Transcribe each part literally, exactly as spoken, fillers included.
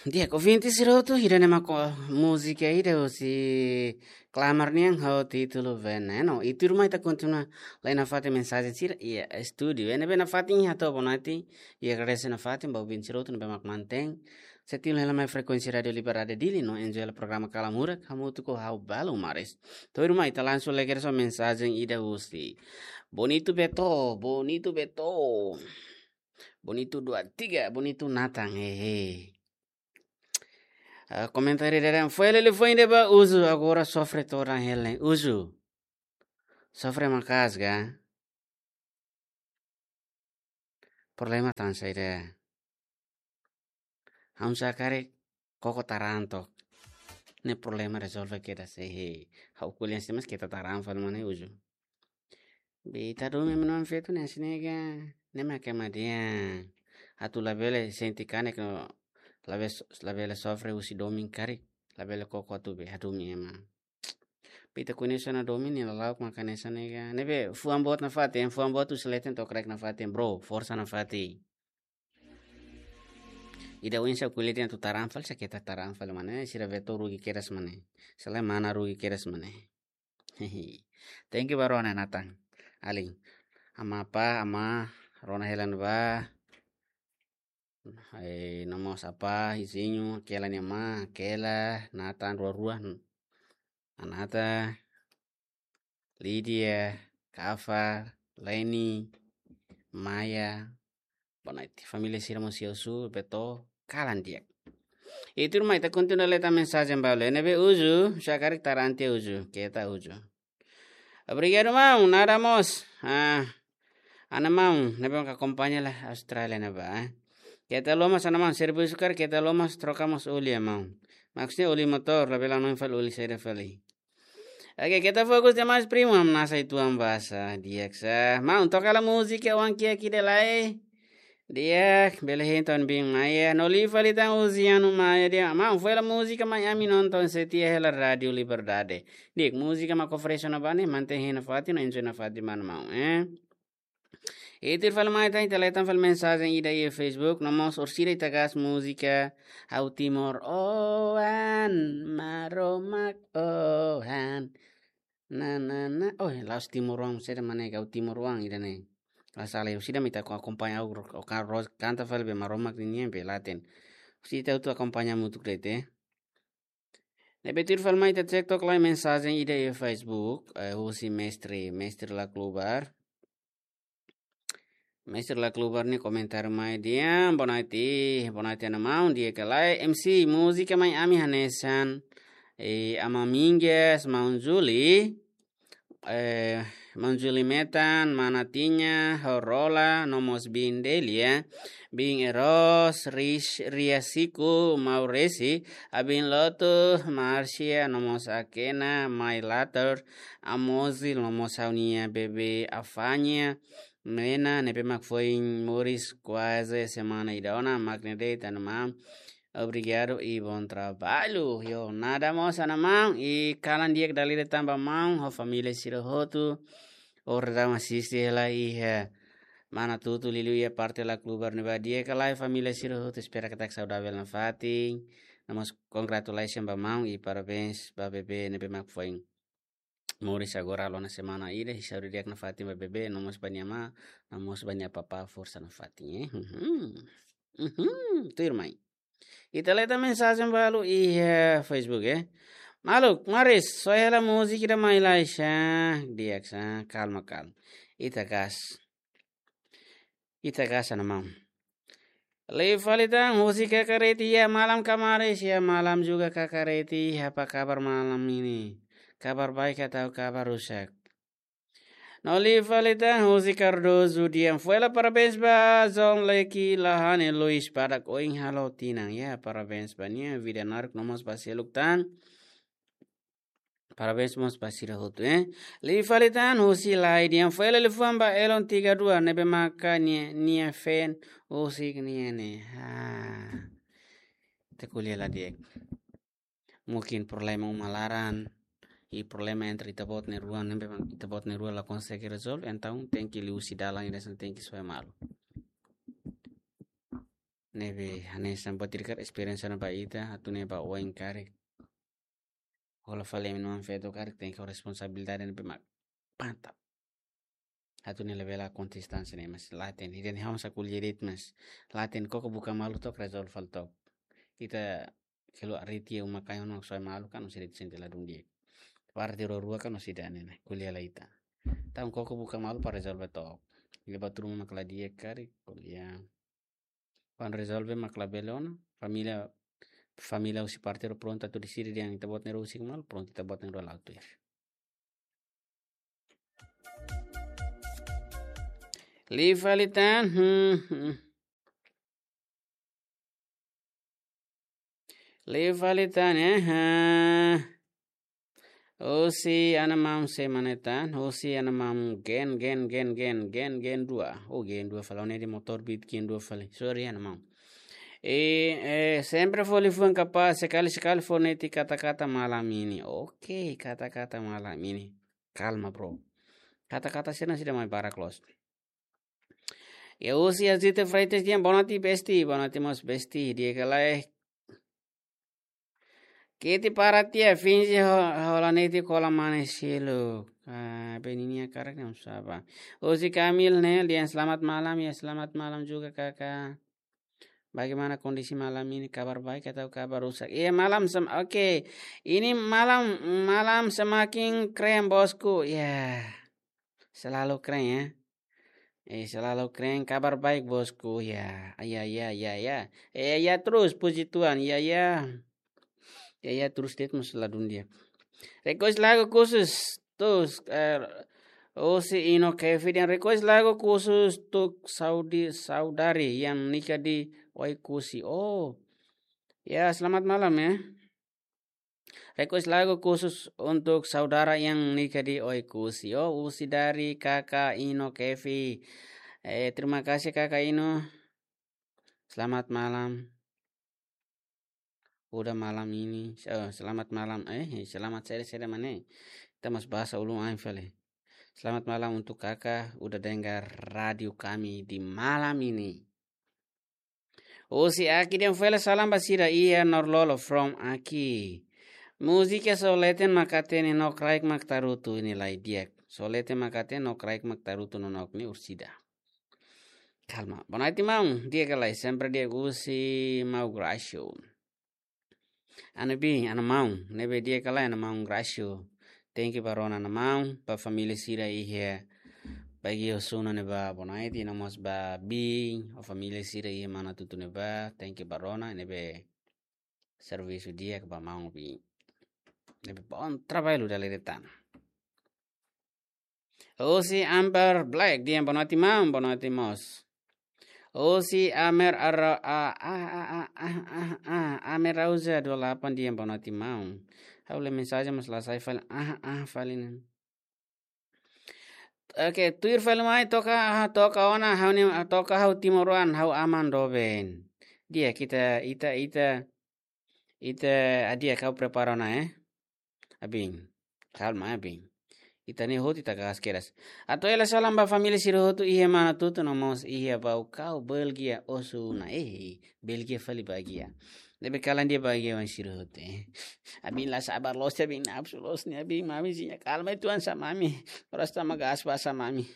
Di'ak, ouvinte sira hotu, ida-ne'e mak múzika ida husi Klamar nian ho títulu Veneno. I tuirmai ita kontinua lai nafatin mensajen sira iha estúdiu. Ne'ebé nafatin hato'o boa noite, i agradese nafatin ba ouvinte sira hotu ne'ebé mak mantein setia hela mai frekuénsia Rádiu Liberdade Dili no enjoy hela programa Kalan Hurak, hamutuk ho ha'u Balu Maris. Tuirmai ita langsung lai kedas ho mensajen ida husi Bonito Beto, Bonito Beto. Bonito dua tiga, Bonito Nathan, hehe. Ah, komentáriu ida dehan, foin hela liafuan ida ba Uzu, agora sofre todan hela. Uzu, sofre maka'as ka? Problema tan saida? Ha'u sá karik koko taran took. Ne'e problema rezolve kedas, hehe. Ha'u ko'alia hanesan ne'e, mas keta taran fali mak ne'e, Uzu. Be ita domin ema-nia feto ne'e hanesan ne'e ka, ne'e mak ema dehan. Atu labele sente kanek no labele so-, labele sofre husi domin karik. Labele koko atu be hadomi ema. Be ita koñese ona domin nia lala'ok mak hanesan ne'e ka. Ne'ebé fuan boot nafatin, fuan boot husi leten to'o kraik nafatin, bro. Forsa nafatin. Ida oinsá ko'alia dehan atu taran fali, sá keta taran fali mak ne'e, sira Beto rugi kedas mak ne'e. Selae mana rugi kedas mak ne'e. Thank you ba rona Nathan. Alin. Ama apa, ama rona hela ne'ebá. Eh, no mós apa, Izinho, Kela nia ama, Kela, Nathan, rua-rua, Anata, Lídia, Kafar, Leni, Maya, boa noite. Família sira mós iha Osu, Beto, kalan di'ak. I tuirmai ita kontinua lee tan mensajen balu. Ne'ebé Uzu, sá karik taran tiha Uzu, keta Uzu. Obrigadu, maun. Nada mós. Ah, ana maun, ne'ebé mak akompaña iha Austrália ne'ebá, eh. Keta lomas, ana maun, servisu karik keta lomas, troka mós oli, maun. Maksudnya oli motór, labele hanoin fali oli saida fali. Oke, keta fokus demais, primu, hamnasa uitoan basa, di'ak sá. Maun, toka hela múzika Oan Kiak ida lai. Di'ak, bele hein tan biin Maya. No liu fali tan Uziano Maya dehan, maun, foin hela múzika Mai Ami Nonton Setia hela Rádiu Liberdade. Di'ak, múzika mak oferese ona ba ne'e, mantein hein nafatin, no enjoy nafatin ba maun, eh. I tuir fali mai tan, ita lee tan fali mensajen ida iha Facebook, no mós orsida ita gas múzika Ha'u Timoroan, Maromak oan. Na, na, na. Oh, la'ós timoroan, saida mak ne'e, Ha'u Timoroan ida-ne'e. La sala, orsida mak ita ko akompaña, o, o ka-, ro-, kanta fali be Maromak nian be laten. Orsida ita hotu akompaña hamutuk de'it, eh. Ne'ebé tuir fali mai ita cek took lai mensajen ida iha Facebook, eh, husi Mestre, Mestre Laklubar. Mestre Laklubar nia komentáriu mai dehan, boa noite, boa noite, ana maun, di'ak ka lae, M C, múzika Mai Ami hanesan, eh, Ama Mingas, Maun Juli, eh, Maun Juli Metan, Mana Tiña, Horola, no mós Biin Delia, Biin Eros, Ris-, Ria Siku, Mauresi, Abin Lotu, Marcia, no mós Akena, Mai Later, Amozil, no mós ha'u-nia bebé Afanya, Mena, ne'ebé mak foin moris kuaze semana ida ona, mak ne'e de'it, ana maun. Obrigadu i bom trabalho. Yo, nada mós, ana maun, i kalan di'ak dala ida tan ba maun ho família sira hotu. Orsida mak asiste hela iha Manatutu, liuliu iha parte Laklubar ne'ebá, di'ak ka lae família sira hotu, espera katak saudavel nafatin. No mós congratulations ba maun i parabéns ba bebé ne'ebé mak foin moris agora halo ona semana ida, i saúde di'ak nafatin ba bebé, no mós ba nia amá, no mós ba nia papá, forsa nafatin, eh. Mhm. Mhm. Tuirmai. Ita lee tan mensajen balu iha Facebook, eh. Maluk, Maris, soe hela múzika ida mai lai sá, di'ak sá, kalma, kalma. Ita gas. Ita gas, ana maun. Liu fali tan husi Kakareti, iha malam ka Maris, iha malam juga Kakareti, apa kabar malam ini? Kabar baik atau kabar rusak? No liu fali tan husi Cardoso dehan, foin hela parabéns ba Zon Leki Lahane Luis badak oin halo tinan. Ya, parabéns ba nia, vida naruk no mós ba seluk tan. Parabéns mós ba sira hotu, eh. Liu fali tan husi Lai dehan, foin hela liafuan ba Elon tiga dua ne'ebé maka nia, nia fan husik nia ne'e. Ha. Ita ko'alia la di'ak. Mungkin problema uma laran, i problema entre ita-boot na'in-rua, ne'ebé mak ita-boot na'in-rua la konsege rezolve, entaun tenke liuhusi dalan ida hanesan ne'e, tenke soe malu. Ne'ebé hanesan buat ida karik esperiénsia ona ba ita, atu nune'e ba oin karik. Hola fali ema na'in-feto karik tenke ho responsabilidade ne'ebé mak mantap. Atu nune'e labele konsistente ne'e mas la hatene. Ida-ne'e ha'u mós ko'alia de'it mas la hatene, koko buka malu took, rezolve fali took. Ita keluar riti uma kain ona soe malu kan, husi riti sente ladún di'ak. Parte rua-rua kan husi ida-ne'e ne'e, ko'alia lai ita. Entaun koko buka malu para rezolve took. Leba turma mak la di'ak karik, ko'alia. Kuandu rezolve mak labele ona, família, família husi parte rua prontu atu deside dehan ita-boot ne'e rua husik malu, prontu ita-boot ne'e rua la'o tuir. Liu fali tan, hmm, hmm. Liu fali tan, eh, ha. Husi ana maun sé mak ne'e tan, husi ana maun Gen, Gen, Gen, Gen, Gen, Gen dua. Oh, Gen dua fali, ha'u ne'e dehan motór bit Gen dua fali. Sorry, ana maun. E, eh, sempre fó liafuan kapás, sekali-sekali fó netik kata-kata malam ini. Oke, kata-kata malam ini. Kalma, bro. Kata-kata sira-ne'e sira mai barak loos. Ya, husi Azita Freitas dehan boa noite, besti, boa noite mós, besti, di'ak ka lae. Keti para tia, finje ho-, hola netik kola mane seluk. Ah, be ninia karak ne'e sapa. Husi Kamil ne'e dehan selamat malam, ya selamat malam juga kakak. Bagaimana kondisi malam ini, kabar baik atau kabar rusak? Iya, malam sem-, oke. Ini malam, malam semakin keren, bosku. Ya, selalu keren ya. Eh, selalu keren, kabar baik, bosku. Ya, ya, ya, ya, ya. Eh, ya terus, puji Tuhan. Ya, ya. Ya, ya terus, de'it mós ladún di'ak. Request lagu khusus, terus, eh, husi Ino Kevi dehan request lagu khusus untuk Saudi, saudari yang nikah di Oekusi. Oh, ya, selamat malam ya. Request lagu khusus untuk saudara yang nikah di Oekusi. Oh, husi dari Kakak Ino Kevi. Eh, terima kasih Kakak Ino. Selamat malam. Udah malam ini. Oh, selamat malam. Eh, selamat sore, sore mana? Kita mas bahasa ulun ain fali. Selamat malam untuk Kakak udah dengar radio kami di malam ini. Husi Aki dehan fó hela salam ba sira iha Norlolo from Aki. Múzika Soleten Makatene no Kraik Maktarutu ini lai di'ak. Soleten Makatene no Kraik Maktarutu no nok ni ursida. Kalma. Boa noite, maun. Di'ak ka lae, sempre di'ak, husi Mau Gracio. Ana bin, ana maun, ne'ebé di'ak ka lae, ana maun Gracio. Thank you ba rona, ana maun, ba família sira iha Baguio Sul ne'ebá, boa noite, no mós ba bin, ho família sira iha Manatuto ne'ebá, thank you ba rona, ne'ebé servisu di'ak ba maun bin. Ne'ebé bom trabalho da Leretana. Husi Amber Black dehan boa noite, maun, boa noite mós. Husi Amer Ara-, a, a, Amer Rauza dua lapan dehan boa noite, maun. Ha'u lee mensajen mas la sai fali, ah, ah, fali ne'e. Oke, tuir fali mai toka, ah, toka ona, ha'u ne'e, ah, toka ha'u timoroan, ha'u aman doben. Di'ak, ita, ita, ita, ita, ah, di'ak, ha'u prepara ona, eh. Abin. Kalma, abin. Ita-nia hotu ita gas keras. Atu hela salam ba família sira hotu iha Manatuto no mós iha Baucau, Belgia, osan ona. Eh, Belgia fali bagian. Ne'ebé kalan dehan bagian wan sira hotu, eh. Abin la sabar loos, abin nafsu loos ne'e, abin mami zinya. Kalma, Tuhan, sa mami. Oras tama gas ba sa mami.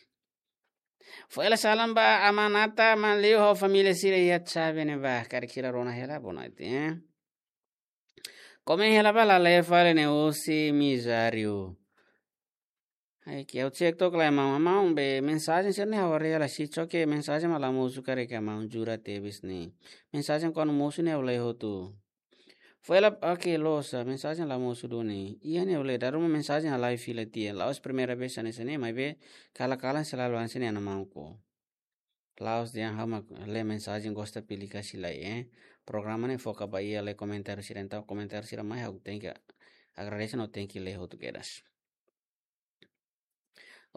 Fó hela salam ba Amanata, Manliu ho família sira iha Xave ne'ebá. Karik sira rona hela, boa noite, eh. Komen hela ba, la lee fali ne'e, husi Mizário. Ai, ke ha'u cek took lai, maun, maun, be mensajen sira-ne'e ha'u haree la si, só ke mensajen mak la mosu karik, maun, jura tebes ne'e. Mensajen kuandu mosu ne'e ha'u lee hotu. Fó hela, oke, loos, mensajen la mosu duni. Iha ne'e ha'u lee, dala ruma mensajen halai fila tiha. La'ós primeira vez hanesan ne'e, maibé kalan-kalan selalu hanesan ne'e, ana maun ko. La'ós dehan ha'u mak lee mensajen gosta pilih kasih lai, eh. Programa ne'e foka ba iha lee komentáriu sira, entaun komentáriu sira mai ha'u tenke agradese no tenke lee hotu kedas.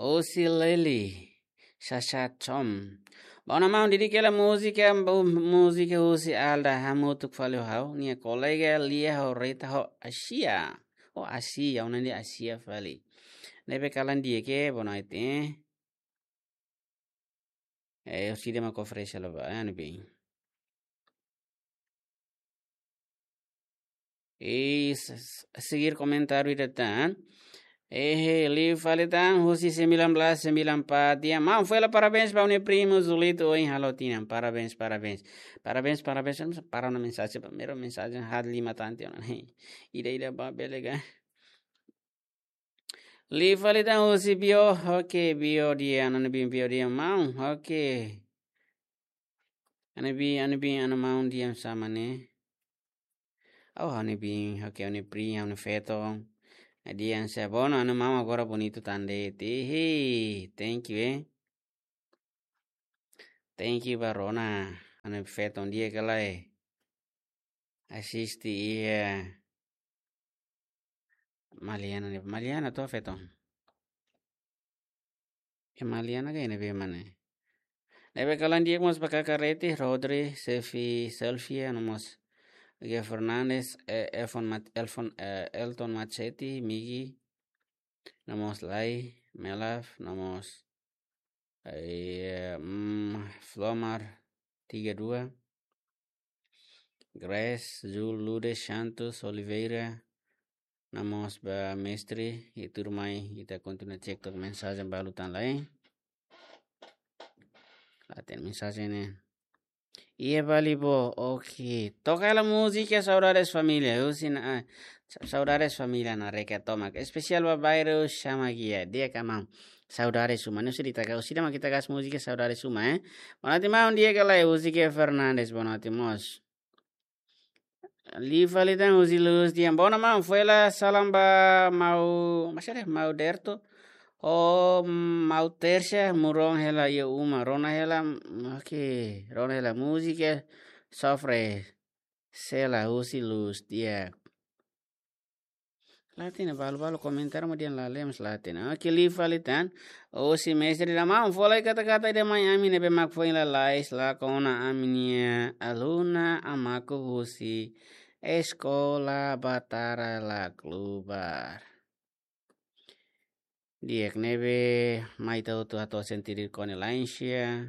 Husi Leli, Sasha Tom. Bom, maun, dedika hela múzika, bu-, múzika husi Alda hamutuk fali ho ha'u-nia kolega Lia ho Rita ho Asia. Oh, Asia, ona di Asia fali. Ne'ebé kalan di'ak, boa noite, eh. Eh, orsida mak oferese hela ba, eh, anu bin. E s-, s-, seguir komentáriu ida tan. Ehe, liu fali tan, husi sembilan belas sembilan empat. Di'ak, maun, foin hela parabéns ba ha'u-nia primu Zulito ohin halo tinan. Parabéns, parabéns. Parabéns, parabéns. Para ona mensajen, primeiru mensajen haat lima tan tiha ona. Ida, ida ba bele ka. Liu fali tan husi Bio, oke, Bio di'ak, ha'u-nia biin Bio di'ak, maun, oke. Ha'u-nia biin, ha'u-nia biin, ha'u-nia maun di'ak, sama ne'e. Oh, ha'u-nia biin, oke, ha'u-nia priin, ha'u-nia feton. Di'ak, se bono, ha'u-nia maun agora bonitu tan de'it. Hihi, thank you, eh. Thank you ba rona, ha'u-nia feton di'ak ka lae. Asiste iha Maliana ne'e. Maliana to feton. E Maliana ka ne'ebé mak ne'e. Ne'ebé kalan di'ak mós ba kaka Reti, Rodri, Sefi, Selvia, no mós Ge Fernandes, eh, Elfon Mat-, Elfon, eh, Elton Matseti, Migi, no mós Lai, Melaf, no mós, eh, mm, Flomar tiga dua, Grace, Jul, Ludes, Santos, Oliveira, no mós ba mestre, i tuirmai, ita kontinua cek tok mensajen balu tan lai. La hatene mensajen ne'e. Iha Bali bo, oke. Toka hela múzika Saudades Família, husi na, ah, sa-, Saudades Família na reka tomak. Espesiál ba bairru Chama Guia, di'ak ka maun. Saudades Uma, ne'e husi ita ka, husi ida mak ita hakat múzika Saudades Uma, eh. Bonote maun, di'ak ka lae, husi Ge Fernandes, bonote mós. Liu fali tan husi Luz di'ak. Bono maun, foin hela salam ba maun, masih ada maun Derto. Oh, maun Tersia, maun rona hela iha uma, rona hela, oke, rona hela múzika, sofre, sela husi Luz di'ak. La hatene, balu-balu komentáriu mak dehan la lee mós la hatene. Oke, liu fali tan. Husi mestre ida maun, fó lai kata-kata ida mai ami ne'ebé mak foin lalais lakon ona ami-nia aluna Amaku husi Eskola Batara Laklubar. Di'ak, ne'ebé mai ita hotu hato'o sentidu kona-ba laensia.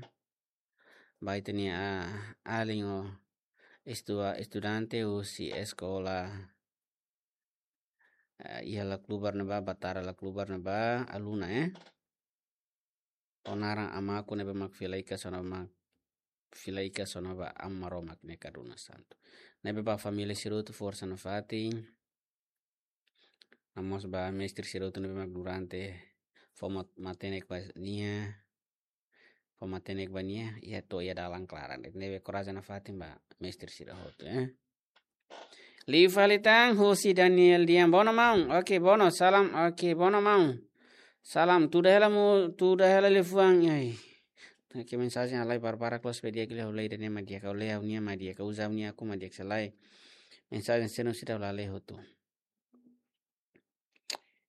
Ba ita-nia, ah, alin ho estua-, estudante husi eskola, eh, iha Laklubar ne'ebá, Batara Laklubar ne'ebá, aluna, eh. Ho naran Amaku ne'ebé mak fila hikas ona ba, fila hikas ona ba Aman Maromak nia kaduna santu. Ne'ebé ba família sira hotu forsa nafatin. No mós ba mestre sira hotu ne'ebé mak durante fó mat-, matenek ba nia, fó matenek ba nia, iha to'o iha dalan klaran. Ne'ebé korajen nafatin ba mestre sira hotu, eh. Liu fali tan husi Daniel di'ak. Bono maun. Oke, bono. Salam. Oke, bono maun. Salam. Tuda hela mu, tuda hela liafuan. Ai. Oke, mensajen halai barbarak loos pe di'ak liu, ha'u lee ida-ne'e mak di'ak, ha'u lee ha'u-nia mak di'ak, ha'u uza ha'u-nia akun mak di'ak, se lae. Mensajen sira-ne'e seidauk la lee hotu.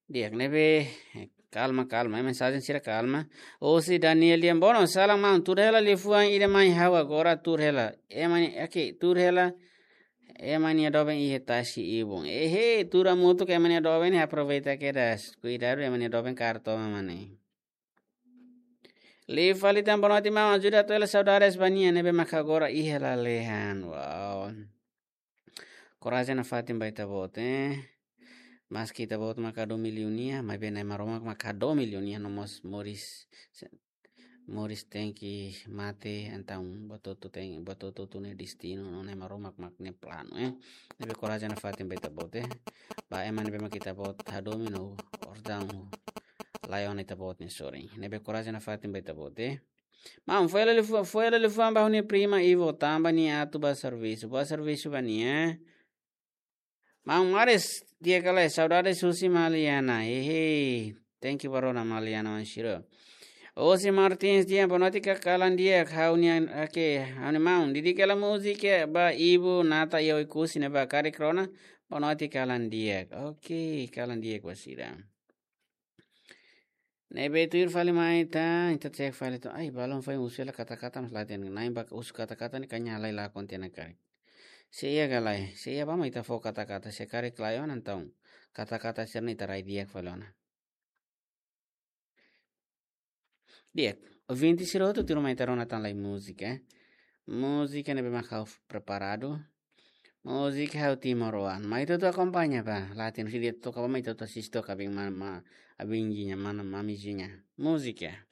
Di'ak, ne'ebé, eh, kalma, kalma, eh, mensajen sira kalma. Husi Daniel di'ak. Bono, salam maun, tuur hela liafuan ida mai ha'u agora tuur hela. Ema nia, oke, tuur hela. Ema nia doben iha tasi ibun. Ehe, tuur hamutuk ema nia doben, aproveita kedas. Kuidadu ema nia doben kaer toman mak ne'e. Liu fali tan, bonote maun, ajuda hato'o hela saudades ba nia ne'ebé maka agora iha lalehan. Wow. Korajen nafatin ba ita-boot, eh. Maski ita-boot maka hadomi liu nia, maibé Na'i Maromak maka hadomi liu nia, no mós moris, se-, moris tenke mate, entaun buat hotu ten-, buat hotu-hotu nia destinu, no Na'i Maromak mak nia planu, eh. Ne'ebé korajen nafatin ba ita-boot, eh. Ba ema ne'ebé mak ita-boot hadomi no ordaun, laiha ona ita-boot nia sorin. Ne'ebé korajen nafatin ba ita-boot, eh. Maun, fó hela liafu-, fó hela liafuan ba ha'u-nia prima Ivo tanba nia atu bá servisu. Bá servisu ba nia. Maun Maris, di'ak ka lae, saudades husi Maliana. Hehe. Thank you ba rona Maliana wan siro. Osi Martins di'ak, bonote ka kalan di'ak, ha'u-nia, oke, ha'u-nia maun. Dedika hela múzika ba Ivo Nata iha Oekusi ne'ebá, karik rona, bonote kalan di'ak. Oke, kalan di'ak ba sira. Ne'ebé tuir fali mai tan, ita cek fali tan. Ai, balun foin husu hela kata-kata mós la hatene. Na'in bá husu kata-kata ne'e kanya lai lakon tiha ona karik. Se iha ka lae, se iha bá mak ita fó kata-kata, se karik laiha ona entaun. Kata-kata sira-ne'e ita rai di'ak fali ona. Di'ak, ouvinte sira hotu tuirmai ita rona tan lai múzika, eh. Múzika ne'ebé mak ha'u preparadu. Múzika ha'u timoroan. Mai ita atu akompaña ba. Latin si dia toka ba mai ita atu asiste toka abin ma, ma, abin jinya mana mami jinya. Múzika.